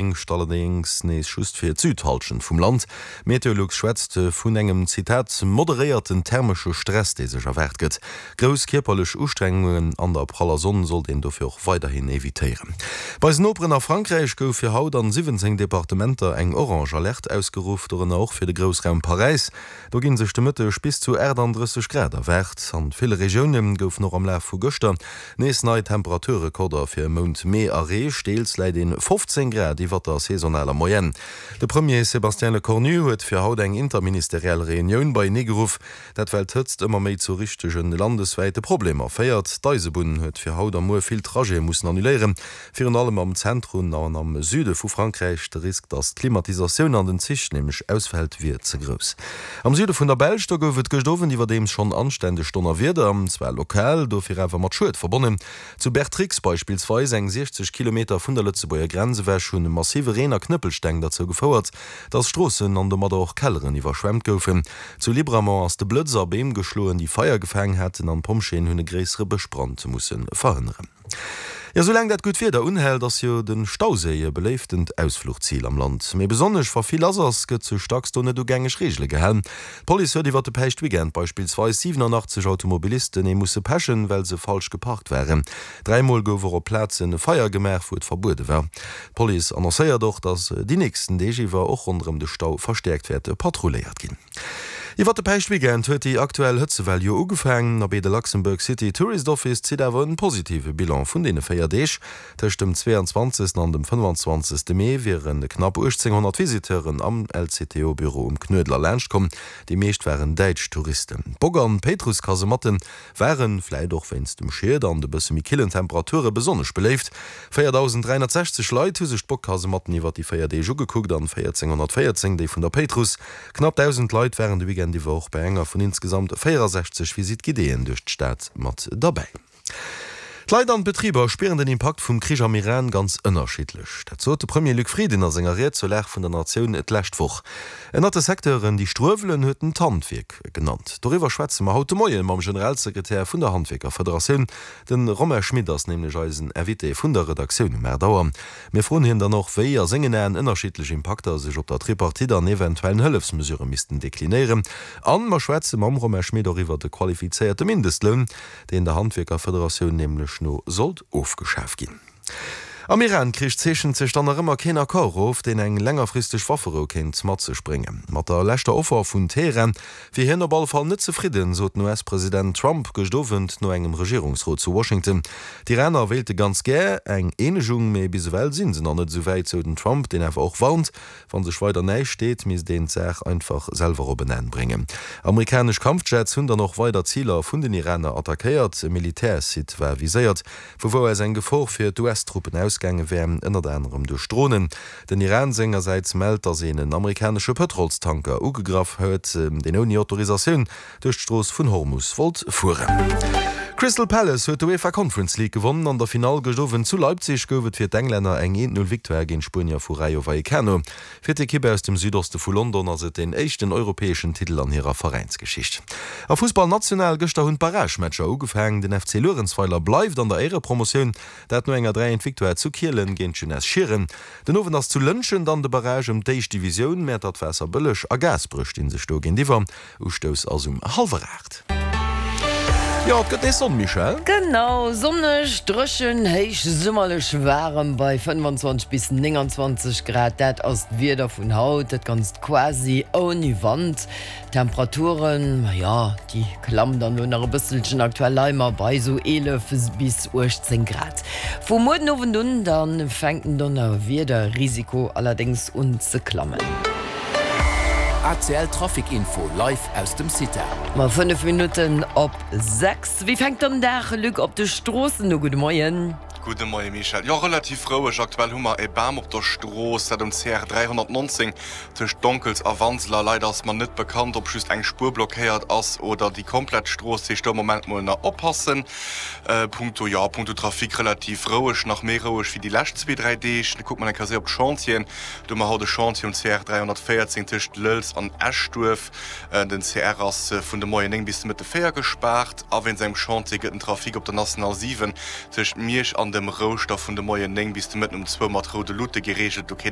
Déngscht allerdéngs nees just fir d'Südhallschent vum Land. Meteolux schwätzt vun engem, Zitat, moderéierten thermesche Stress, dee sech erwaart gëtt. Grouss kierperlech Ustrengungen an der praller Sonn sollt een dofir och weiderhin evitéieren. Bei eisen Noperen a Frankräich gouf fir haut an 17 Departementer eng orange Alerte ausgeruff, dorënner och fir de Groussraum Paräis. Do ginn sech de Mëtteg bis zu 38 Grad erwaart. An ville Regioune goufen och am Laf vu gëschter nees nei Temperaturrekorder fir e Mount Mee erreecht. Deels läit een 15 Grad iwwert der saisonaler Moyenne. De Premier Sébastien Lecornu huet fir haut eng interministeriell Reunioun beienee geruff. Dat well d'Hëtzt ëmmer méi zu richtege landeswäite Problemer féiert. D'Eisebunn huet fir haut a muer vill Trajete mussen annuléieren. Virun allem am Zentrum an am Süde vu Frankräich. De Risk, datt d'Klimatisatioun an den Zich nämlech ausfält, wier ze grouss. Am Süde vun der Belsch, do gouf et gëscht Owend iwwerdeems schonn anständeg Donnerwieder, zwar lokal, dofir awer mat Schued verbonnen. Zu Bertrix beispillsweis, eng 60 Kilometer vun der Lëtzebuerger Grenz ewech, hunn massive Reen a Knëppelsteng derzou gefouert, datt Stroossen an domadder och Kelleren iwwerschwemmt goufen. Zu Libramont ass de Blëtz a Beem geschloen, déi Feier gefaang haten, an d'Pompjeeën hunn e gréissere Bëschbrand musse verhënneren. Jo, soulaang dat gutt Wieder unhält, ass jo de Stauséi e beléiftent Ausfluchzil am Land. Mee besonnesch wa vill lass ass, gëtt sech dacks do net u gängeg Reegele gehalen. D'Police huet iwwer de Päischtweekend beispillsweis 87 Automobilisten ee musse pechen, well se falsch geparkt waren. Dräimol gouf och op Plaze Feier gemaach, wou et verbuede war. D'Police annoncéiert och, datt déi nächsten Deeg iwwer och ronderëm de Stau verstäerkt wäert patrulléiert ginn. Iwwer de Päischtweekend huet déi aktuell Hëtzewell jo ugefaangen. Abee, de Luxembourg City Tourist Office zitt awer en positive Bilan vun deene 4 Deeg. Tëscht dem 22 an dem 25 Mee wiere knapp 1.800 Visiteuren am LCTO-Büro um Knuedler laanschtkomm. Déi meescht waren däitsch Touristen. D'Bock an d'Péitruss-Kasematten waren, vläit och wéinst dem Schied an de bësse méi killen Temperature, besonnesch beléift. 4.360 Leit hu sech d'Bock-Kasematten iwwer déi 4 Deeg ugekuckt an 1.414 déi vun der Péitruss. Knapp 1.000 Leit waren de Weekend iwwer och bei enger vun insgesamt 64 Visite guidéeën duerch d'Stad mat derbäi. D'Leit an d'Betriber spieren den Impakt vum Krich am Iran ganz ënnerschiddlech. Dat sot de Premier Luc Frieden a senger Ried zur Lag vun der Natioun d'lescht Woch. Ënnert de Secteuren, déi struewelen, huet en d'Handwierk genannt. Doriwwer schwätze mer haut de Moie mam Generalsekretär vun der Handwierkerfederatioun. De Romain Schmit ass nämlech eisen Invité vun der Redaktioun um 8 Auer. Mir froen hien dann och, wéi a sengen Aen ënnerschiddlech Impakter sech op der Tripartite an eventuellen Hëllefsmesurë missten deklinéieren. An mer schwätze mam Romain Schmit och iwwer de qualifizéierte Mindestloun, deen der Handwierkerfederatioun nämlech no sollt ofgeschaf ginn. Am Iran-Krich zeechent sech dann nach ëmmer keen Accord of, deen eng längerfristeg Wafferou kéint mat sech bréngen. Mat der leschter Offer vun Teheran wier hien op alle Fall net zefridden, sot den US-President Trump gëscht Owend no engem Regierungsrot zu Washington. D'Iraner wéilte ganz gär eng Eenegung, mee bis ewell si se nach net esou wäit, sou den Trump, deen awer och warnt, Wa sech weider näischt deet, misst een d'Saach einfach selwer op en Enn bréngen. Amerikanesch Kampfjets hunn dann och weider Ziler vun den Iraner attackéiert. E Militärsite war viséiert, vu wou aus eng Gefor fir d'US-Truppen ausgaange wär, ënnert anerem duerch Dronen. Den Iran sengersäits mellt, datt een en amerikanesche Pëtrolstanker ugegraff huet, deen ouni Autorisatioun duerch d'Strooss vun Hormus wollt fueren. Crystal Palace huet d'UEFA Conference League gewonnen. An der Finall gëscht Owend zu Leipzig gouf et fir d'Englänner eng 1-0 Victoire géint d'Spuenier vu Rayo Vallecano. Fir d'Ekipp aus dem Südoste vu London ass et deen éischten europäeschen Titel an hirer Veräinsgeschicht. A Fussball national, Gëschter hunn d'Barragematcher ugefaangen. Den FC Luerenzweiler bleift an der Éierepromotioun, dat no enger 3 1 Victoire zu Kielen géint d'Jeunesse Schieren. Den Owend ass zu Lëntgen dann de Barrage ëm d'éischt Divisioun. Mäertert, Waasserbëlleg a Gaasperech sti sech do géintiwwer. Ustouss ass um hallwer 8. Jo, et gëtt nees Sonn, Michèle. Genau, sonneg, dréchen, héich summerlech waarem bei 25 bis 29 Grad. Dat ass d'Wieder vun haut, dat Ganzt quasi ouni Wand. D'Temperaturen, majo, déi klammen dann elo nach e bësselchen. Aktuell leie mer bei esou 11 bis 18 Grad. Vu muer den Owend un da fänkt den Donnerwiederrisiko allerdéngs un ze klammen. ACL Trafic Info live aus dem CITA. Ma 5 Minutten op 6. Wéi fänkt dann Dag, Luc, op de Stroossen u? Gudde Moien. Gudde Moie Michèle. Jo, relativ roueg. Aktuell hu mer e Bam op der Strooss, dat um CR 319 tëscht Donkels a Wanseler. Leider ass mer net bekannt, ob just eng Spuer blockéiert ass oder déi komplett Strooss. Dat heescht, do am Moment mol nach oppassen. Punkto, jo, punkto Trafic relativ roueg, nach méi roueg wéi déi lescht zwee, dräi Deeg. Kucke mer eng Kéier séier op d'Chantieren. Do hu mer haut e Chantier um CR 314 tëscht Lëlz an Eschduerf. Den CR ass vun de Moien 9 bis de Mëtte 4 gespaart. A wéinst engem Chantier gëtt den Trafic op der National 7 tëscht Miersch an dem Rouschter vun de Moien 9 bis de Mëtten um zwou mat roude Luute gereegelt. Do kéint.